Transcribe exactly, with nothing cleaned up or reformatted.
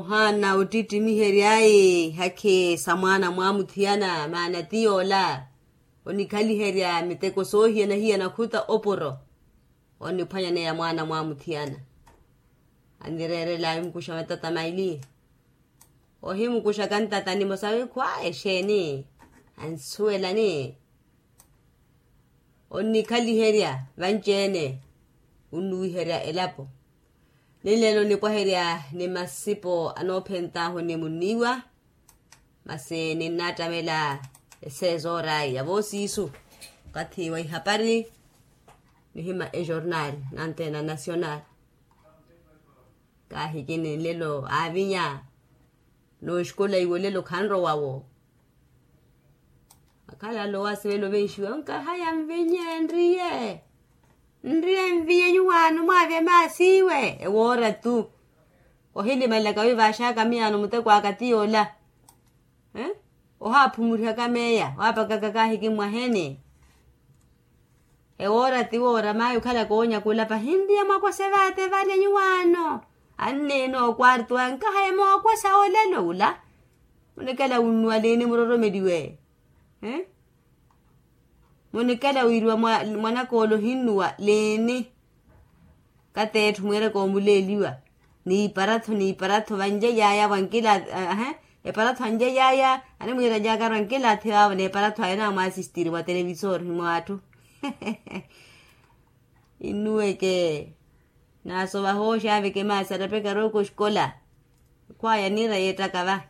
Ohaana ottittimihery'aye hakhi sa mwaana mwaamuthiyana maana ti yoola onikhaliherya miteko soohiyana-hiyana khuta opuro. Onniphwanyaneya mwaana mwaamuthiyana anireerela ahimukuxa matata maili. Ohimukuxaka ntata nimosa wikhwa exeeni ansuwelani. Onnikhaliherya vanci-ene onnuwiherya elapo. Ninlelo nipwaherya ni masipo anoophent'ahu ni munniiwa. Masi ninnaattamela eseezo orayi ya voosiisu okathi wa ihapari nihima ejornal nantena nasional. Kaahikini nlelo aavinya n'oxikola iwo nlelo khanrowa-wo. Akhala alowa sivelo venxiwe onkahaya nvinye nriye nriye nvinye nyuwaano mwaavya maasiiwe ewoora-tu. Ohilimalelaka wi vaaxaka miyaano muteko aka ti yoola. Ohaaphumurihaka meeya waapakaka kaahiki mmwaheeni. Ewoora ti woora mayi okhalaka oonyaka olapa hinriya mwakose vaate vale nyuwaano. Anneena okwarto aya nkahaya mookosa olelo ula. Munikela wunnuwa liini muroromeliwe? Munikela wiiriwa mwanaka ole ohinnuwa liini? Kateetthu mwiiraka omuleeliwa n'iparatho n'iparatho vanjeyaya vwankilaathi. Eparatho anjeyaya animwiira njaakari vankilaathi vaavo n'eparatho aya namwaasistiri mwa televisori ni mw'atthu. Innuweke naasovaha oxaaveke maasi arapekari okoxikola. Khwaya niira yeettaka va.